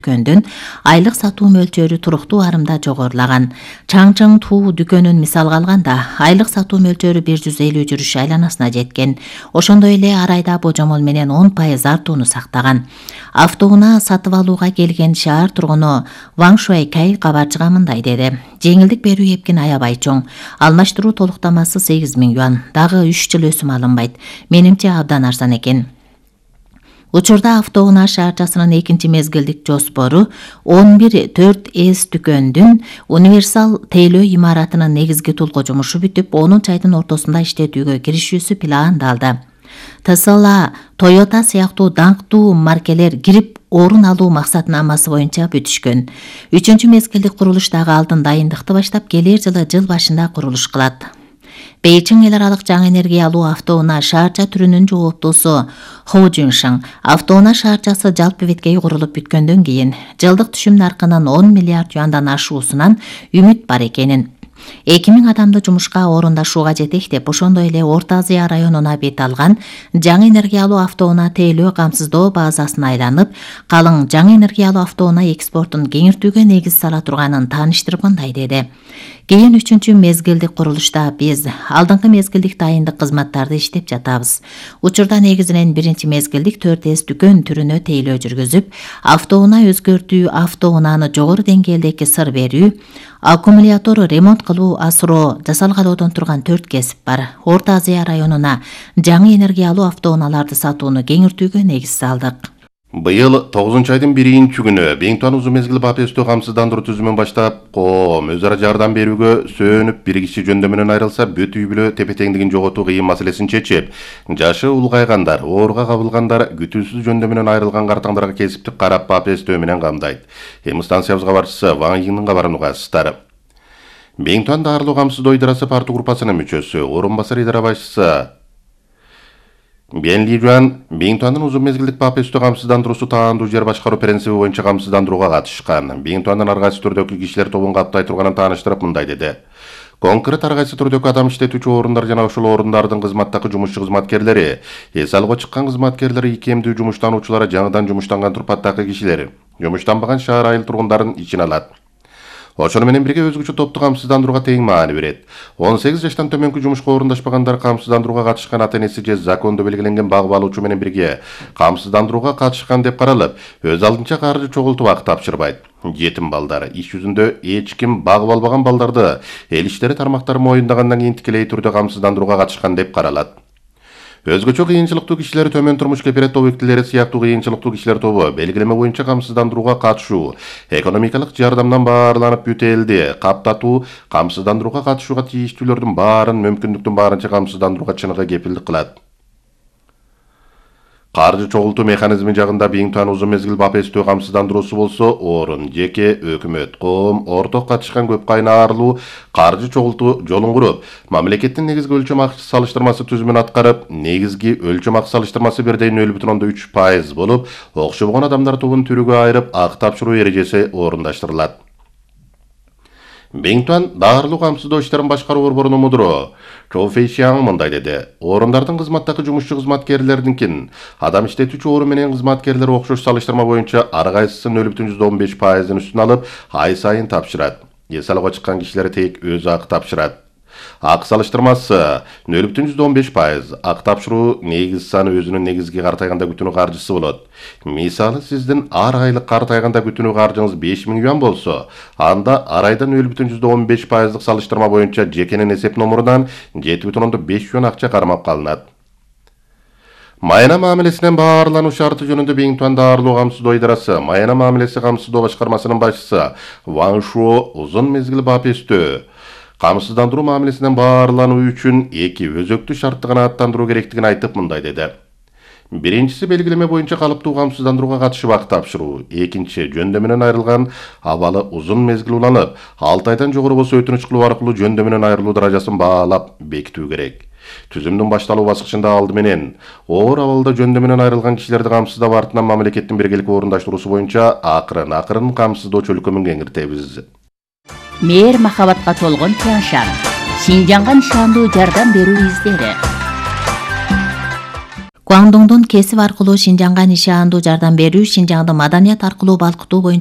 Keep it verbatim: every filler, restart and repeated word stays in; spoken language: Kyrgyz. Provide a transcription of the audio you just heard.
дүкөндүн айлык сатуу мөлчөрү туруктуу арымда жогорулаган. Чаңчың Туу дүкөнүн мисалга алганда, айлык сатуу мөлчөрү бир жүз элүү жүрүш айланасына жеткен. Ошондой эле ар айда божомол менен он пайыз артууну сактаган. Автоунаа сатып алууга келген шаар тургуну Ван Шуайкай кабарчыга мындай деди: жеңилдик берүү эпкин аябай чоң. Алмаштыруу толуктамасы сегиз миң юан. Дагы үч жыл өсүм алынбайт. Менимче абдан арзан экен. Учурда автоунаа шаарчасынын экинчи мезгилдик жоспору он бир төрт эс дүкөндүн универсал тейлөө имаратынын негизги тулгу жумушу бүтүп, онунчу айдын ортосунда иштетүүгө киришүүсү пландалды. Tesla, Toyota сыяктуу даңктуу маркелер кирип орун алуу максатнамасы боюнча бүтүшкөн. Үчүнчү мезгилдик курулуш дагы алдын дайындыкты баштап, келер жылы жыл башында курулуш кылат. Бейжиң эл аралык жаңы энергия алуу автоунаа шаарча түрүнүн жооптусу Хо Жуншың автоунаа шаарчасы жалпы беткей курулуп бүткөндөн кийин жылдык түшүм наркынын он миллиард юандан ашуусунан үмүт бар экенин, эки миң адамды жумушка орундашууга жетек деп, ошондой эле Орто Азия районуна бет алган жаңы энергия алуу автоунаа тейлөө камсыздоо базасына айланып, калың жаңы энергия алуу автоунаа экспортун кеңиртүүгө негиз сала турганын тааныштырып мындай деди: Кийин үчүнчү мезгилдик курулушта биз алдыңкы мезгилдик дайындык кызматтарды иштеп жатабыз. Учурда негизинен биринчи мезгилдик төрт эс дүкөн түрүнө тейлөө жүргүзүп, автоунаа өзгөртүү, автоунааны жогору деңгээлдеги сыр берүү, аккумулятор ремонт кылуу, асыроо жасалгалоодон турган төрт кесип бар. Орто Азия районуна жаңы энергия алуу автоунааларды сатууну кеңиртүүгө негиз салдык. Быйыл тогузунчу айдын биринчи күнү Бейнтуан узун мезгил БАПСТ камсыздандыруу түзүмүн баштап, коом өз ара жардам берүүгө сөнүп, бир киши жөндөмүнөн айрылса бүт үй бүлө тепе-теңдигин жоготуу кыйын маселесин чечип, жашы улгайгандар, ооруга кабылгандар, күтүүсүз жөндөмүнөн айрылган картаңдарга кесиптик карап БАПСТ менен камдайт. Эми станциябыз кабарчысы Ван Йиңдин кабарын угасыздар. Бейнтуан даарылуу камсыздоо идарасы парту группасынын мүчөсү, орун басар идара башчысы Бен Ли Жуан Бейнтуандын узун мезгилдик БАПСТ камсыздандыруусу таандуу жер башкаруу принциби боюнча камсыздандырууга катышкан. Бейнтуандын ар кайсы түрдөгү кишилер тобун каптай турганын тааныштырып мындай деди: конкрет ар кайсы түрдөгү адам иштетүүчү орундар жана ошол орундардын кызматтагы жумушчу кызматкерлери, эс алууга чыккан кызматкерлер, икемдүү жумуштануучулар, жаңыдан жумуштанган турпаттагы кишилер, жумуштанбаган шаар айыл тургундарын ичине алат. Ошону менен бирге өзгөчө топту камсыздандырууга тең маани берет. он сегиз жаштан төмөнкү жумушка орундашпагандар камсыздандырууга катышкан ата-энеси же закондо белгиленген багып алуучу менен бирге камсыздандырууга катышкан деп каралып, өз алдынча каржы чогултуп акы тапшырбайт. Жетим балдар, иш жүзүндө эч ким багып албаган балдарды эл иштери тармактары моюндагандан кийин тикелей түрдө камсыздандырууга катышкан деп каралат. Өзгөчө кыйынчылыктуу кишилер, төмөн турмуш кепилет объектилери сыяктуу кыйынчылыктуу кишилер тобу белгилеме боюнча камсыздандырууга катышуу, экономикалык жардамдан баарланып бүт элди каптатуу, камсыздандырууга катышууга тийиштүүлөрдүн баарын мүмкүндүктүн баарынча камсыздандырууга чыныгы кепилдик кылат. Каржы чогултуу механизми жагында Бейнтуан узун мезгил БАПСТ камсыздандыруусу болсо, орун, жеке, өкмөт, коом, орток катышкан көп кайнарлуу каржы чогултуу жолун куруп, мамлекеттин негизги өлчөм акы салыштырмасы түзүмүн аткарып, негизги өлчөм акы салыштырмасы бир нөл бүтүн ондон үч пайыз болуп, окшобогон адамдар тобун түрүгө айырып акы тапшыруу эрежеси орундаштырылат. Бейнтуан даарылуу камсыздоо иштерин башкаруу борборунун мудуру Чоу Фэйшиаң мындай деди: орундардын кызматтагы жумушчу кызматкерлердинкин адам иштетүүчү орун менен кызматкерлер окшош салыштырма боюнча ар кайсысы нөл бүтүн он беш пайыздын үстүн алып, ай сайын тапшырат. Эс алууга чыккан кишилер тек өзү акы тапшырат. Акы салыштырмасы нөл бүтүн он беш пайыз, акы тапшыруу негиз саны өзүнүн негизги картайганда күтүнүү каржысы болот. Мисалы, сиздин ар айлык картайганда күтүнүү каржыңыз беш миң юан болсо, анда ар айда нөл бүтүн он беш пайыздык салыштырма боюнча жекенин эсеп номурунан жети бүтүн ондон беш юан акча кармап калынат. Майына мамилесинен баарлануу шарты жөнүндө Бейнтуан даарылуу камсыздоо идарасы Майына мамилеси камсыздоо башкармасынын башчысы Ван Шуо узун мезгил БАПСТ камсыздандыруу мамилесинен баарлануу үчүн эки өзөктүү шартты канааттандыруу керектигин айтып мындай деди: биринчиси белгилеме боюнча калыптуу камсыздандырууга катышып акы тапшыруу, экинчи жөндөмүнөн айрылган абалы узун мезгил уланып, алты айдан жогору болсо өтүнүч кылуу аркылуу жөндөмүнөн айрылуу даражасын баалап бекитүү керек. Түзүмдүн башталуу баскычында алды менен оор абалда жөндөмүнөн айрылган кишилерди камсыздап, артынан мамлекеттин биргеликти орундаштыруусу боюнча акырын акырын камсыздоо чөлкөмүн кеңиртебиз. Мээр махабатка толгон Тяншан, Шинжанга нишандуу жардам берүү издери. Гуандоңдон кесип аркылуу Шинжаңга нишаандуу жардам берүү, Шинжаңды маданият аркылуу балкытуу боюнча